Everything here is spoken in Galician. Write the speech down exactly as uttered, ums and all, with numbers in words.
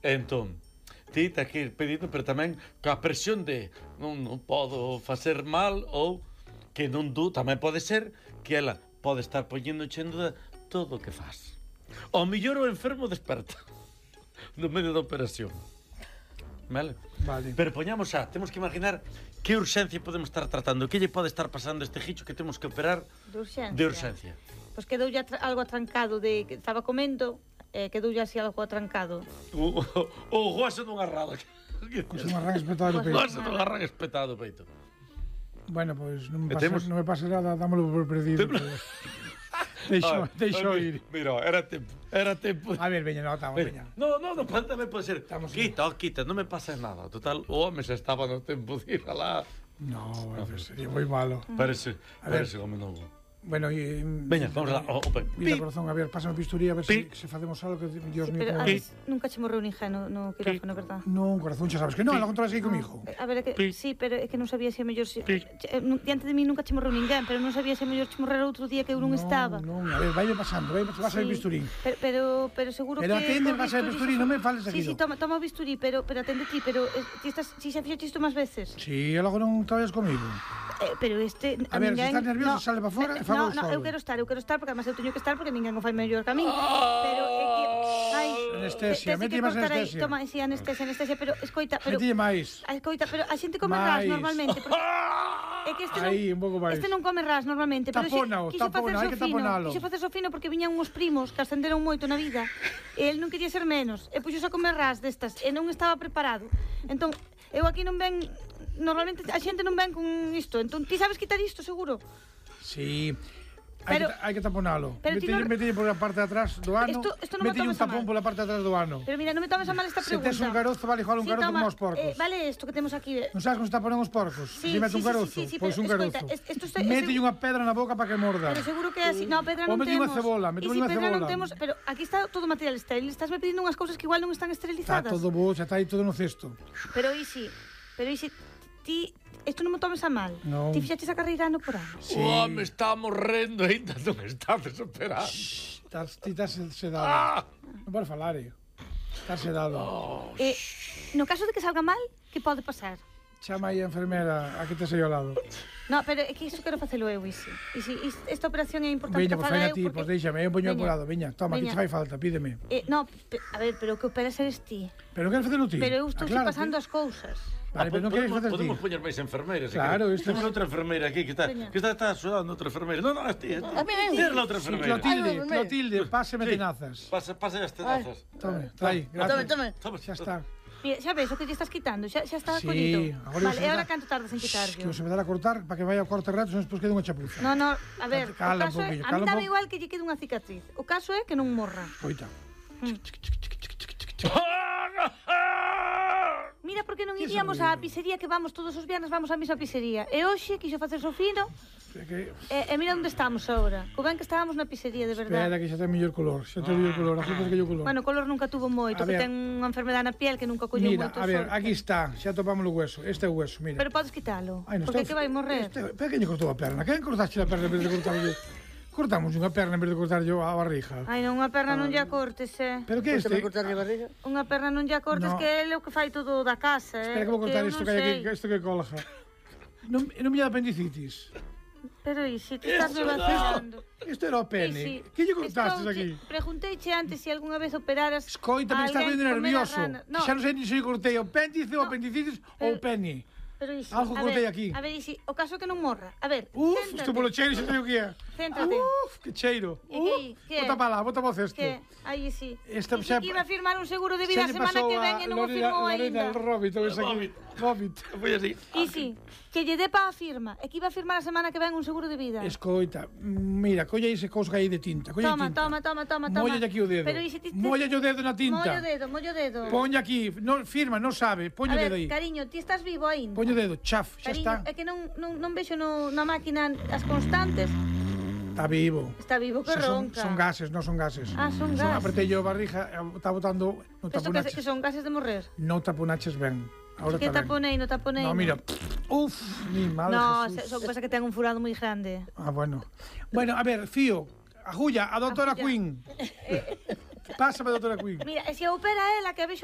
Entón, ti tens que ir pedindo, pero tamén coa presión de non, non podo facer mal, ou que non du, tamén pode ser que ela pode estar poñendo chendo de todo o que faz. O mellor o enfermo desperta no medio da operación. Vale? Vale. Pero poñamos xa, temos que imaginar que urxencia podemos estar tratando, que lle pode estar pasando a este gicho que temos que operar De urxencia. de urxencia. Pois quedoulle atra- algo atrancado de que estaba comendo, eh, quedoulle así algo atrancado. O, o, o gozo dun arrado. Pois un arranque espetado no O peito. gozo dun arranque espetado do peito. Bueno, pois non me E pasa, temos- non me pasa nada, dámolo por perdido. Temos- Deixo, Ah, deixo ah, ir. Mira, era tempo, era tempo. A ver, veña, no, estamos, veña. No, no, no, tamén pode ser. Estamos Quita, oh, quita, non me pasa nada. Total, o home xa estaba no tempo de ir alá. No, bueno, pues sería moi malo. Parece, A ver. parece como non. Bueno, e... Veña, vamos lá. Oh, open. Mira, Pi. corazón, a ver, pásame a bisturí, a ver se, Pi. se facemos algo que, Dios Sí, mío, pero como... antes nunca che morreu ninguén no, no quirófano, verdad? Non, corazón, xa sabes que non, la controlas aí comigo. A ver, é que, Pi. sí, pero é que non sabía se a mellor... Se, Pi. che- eh, nu- diante de mí nunca che morreu ninguén, pero non sabía se a mellor che morrera outro día que eu non estaba. Non, a ver, vai pasando, vai, vas a ver Sí. bisturí. Pero, pero, pero seguro Pero que... atende, co vas a ver bisturí, non me fales Sí, seguido. sí, toma, toma o bisturí, pero, pero atende ti, pero eh, ti estás, si xa fixaste isto máis veces. Si, e logo non traballas comigo. Eh, pero este... A ver, se ninguén- estás nervioso, no, sale pa fora e eh, fago No, no, solo. eu quero estar, eu quero estar, porque además eu teño que estar porque ninguén o fai mellor que a min. Pero é que... Ai, Anestesia, te- tes mete que máis cortar aí. anestesia. Toma, sí, anestesia, anestesia, pero escoita, pero... Metille máis. A escoita, pero a xente come ras Máis. normalmente, porque... É que este non, Aí, un pouco máis. este non come ras normalmente, pero Tapónao, quixo tapónao, hai facerse que o fino, taponalo. quixo facerse o fino porque viñan uns primos que ascenderon moito na vida, e el non quería ser menos, e puxose a comer ras destas, e non estaba preparado. Entón, eu aquí non ven, normalmente a xente non ven con isto, entón ti sabes quitar isto, seguro? Si. Hai Pero- que, hai que taponalo. pero ti Metelle, non- metelle por a parte de atrás do ano. Isto- isto non me metelle un tomes a tapón mal. pola parte de atrás do ano. Pero mira, non me tomes a mal esta Se pregunta. tes un carozo, vale igual un Sí, carozo toma, como os porcos. eh, vale isto que temos aquí. eh. Non sabes como está ponen os porcos? Sí, Se mete sí, un sí, carozo, sí, sí, pois pero un escoita, carozo. es- esto está- Mételle ese- unha pedra na boca para que morda. Pero seguro que é así. No, pedra Ou non metelle unha temos. cebola, E metelle si unha pedra non cebola. temos, pero aquí está todo material estéril. Estás me pedindo unhas cousas que igual non están Está esterilizadas. todo bo, xa está aí todo no cesto. Pero e si, pero e si ti isto non me tomes a mal. Non. Ti fixaches a carreira ano por ano. Sí. O home está morrendo e ainda non está desesperado. Estás, ti estás sedado. Ah! Non podes falar, eh. Estás sedado. E no caso de que salga mal, que pode pasar? Chama aí a enfermera a que te sei ao lado. No, pero é que isto quero facelo eu, Isi. E si is- esta operación é importante Veña, que pois faga faina eu, ti, porque- pois déixame, eu poño Veña. apurado, veña, toma, que Veña. te fai falta, pídeme. Eh, no, pe- a ver, pero o que operas eres ti. Pero non queres facelo ti? Pero eu estou Aclárate. pasando as cousas. Vale, pero non queres facer ti. Podemos poñer máis enfermeiras. se Claro, queres. isto Temos es- outra enfermeira aquí que está, Veña. que está, está sudando outra enfermeira. No, no, es ti, es ti. A mí, a mí. Tira la outra Sí, enfermeira. Clotilde, Ay, no, no, no. Clotilde, páseme Sí. tenazas. Pasa, pasa as tenazas. Tome, está aí, Tome, gracias. tome. Toma, Xa está. Mira, xa ves o que lle estás quitando, xa, xa está Sí, collido. agora Vale, se e agora dá- canto tardas en Que quitarlo? o se me dá a cortar para que vaya ao corte reto, senón despois queda unha chapuza. No, no, a ver, Cala un o caso é, poquillo, a cala mí un dame po- igual que lle quede unha cicatriz. O caso é que non morra. Coita. Mira, porque non Que iríamos sorrido. á pizzería que vamos todos os viernes, vamos á mesma pizzería. E hoxe quixo facer o fino, É que... e, e mira onde estamos agora. Co ben que estábamos na pizzería, de verdade. Espera que xa ten mellor color, xa ten mellor color, a culpa é que yo color. Bueno, color nunca tuvo moito, A que ver. ten unha enfermedade na piel que nunca colleu Mira, moito a ver, sorte. aquí está, xa topamos o hueso, este é o hueso, mira. Pero podes quitalo, Ai, non porque está- que vai morrer. Este, espera que lle cortou a perna, quen cortaste a perna en vez de cortar yo? Cortamos unha perna en vez de cortar yo a barriga. Ai, non, unha perna non lle cortes, eh. Pero que Este me este? cortarlle a barriga. Unha perna non lle cortes, No. que é o que fai todo da casa, eh. Espera que vou cortar eu isto non que hai aquí, sei. que isto que colja. Non, non me dá apendicitis. Pero e se ti estás Eso me non. vacilando. Isto era o pene. Que lle cortastes aquí? Pregunteiche antes se algunha vez operaras Escoita, me a estás alguén vendo comer a nervioso. rana. No, Xa non sei ni se lle cortei o apéndice, o apendicitis ou o pene. pero isi, algo a contei ver, aquí. A ver, isi, o caso é que non morra. A ver, Uf, céntrate. isto polo cheiro xa sei o que é. Céntrate. Uf, que cheiro. E que- Uf, que? bota para lá, bota para o cesto. Que? Aí sí. Esta Esta xa- que iba a firmar un seguro de vida Xa lle a semana pasou que ven a e non o Lorena- firmou Lorena, aínda. el Robit, o ese aquí. Vómit. Robit. Foi así. Isi, que lle dé pa a firma. E que iba a firmar a semana que ven un seguro de vida. Escoita, mira, colla ese cousa aí de tinta. Colla Toma, tinta. toma, toma, toma, toma. Molla aquí o dedo. Pero isi ti... ti- Molla o dedo na tinta. Mollo o dedo, mollo o dedo. Poña aquí, no, firma, non sabe, poño A o ver, dedo aí. cariño, ti estás vivo aínda. Poño o dedo, chaf, xa Cariño, está. é que non, non, non vexo no, na máquina as constantes. Está vivo. Está vivo que Xa son, ronca. son gases, non son gases. Ah, son Son gases. apretei yo a barriga, e está botando, non Penso que, que taponaches. son gases de morrer. Non taponaches ben. Ahora Que está ben. taponei, no taponei. No, mira. Uf, mi madre No, Jesús. se- só que pasa que ten un furado moi grande. Ah, bueno. Bueno, a ver, Fío, agulla, a doutora Agulla. Queen. Pásame a doutora Queen. Mira, e se opera ela que a vexo